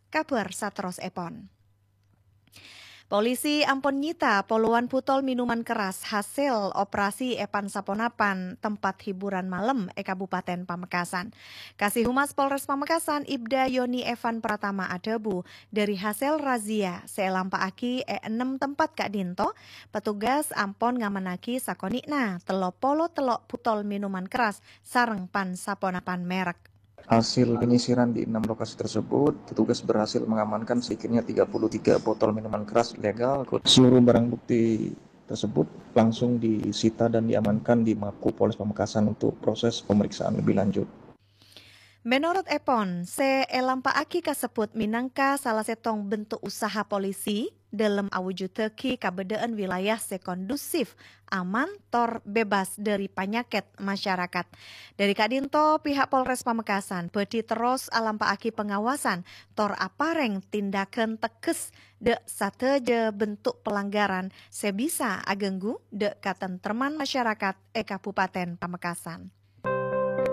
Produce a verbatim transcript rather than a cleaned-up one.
Kabhâr saterrossèpon. Polisi ampon nyita polowan butol minuman keras hasil operasi è pan-saponapan tempat hiburan malem è Kabupaten Pamekasan. Kasihumas Polres Pamekasan, Ibda Yoni Evan Pratama adhâbu, dhâri hasil razia sè èlampa'aghi è ennem tempat ka'dinto, petugas ampon ngamannaghi sakonè'na tello polo tello' butol minuman keras sareng pan-saponapan merek. Hasil penyisiran di enam lokasi tersebut, petugas berhasil mengamankan sedikitnya tiga puluh tiga botol minuman keras ilegal. Seluruh barang bukti tersebut langsung disita dan diamankan di Mako Polres Pamekasan untuk proses pemeriksaan lebih lanjut. Menurut èpon, sè èlampa'aghi kasebbhut mènangka sala sèttong bentuk usaha polisi dhâlem awujuddhâghi kabâdâ'ân wilayah sè kondusif, aman, tor bebas dhâri panyakèt masyarakat. Dhâri ka'dinto, pihak Polres Pamekasan bhâdhi terros alampa'aghi pengawasan tor aparèng tindakan tegas dhâ' sadhâjâ bentuk pelanggaran sè bisa aghânggu dhâ' katentreman masyarakat è Kabupaten Pamekasan.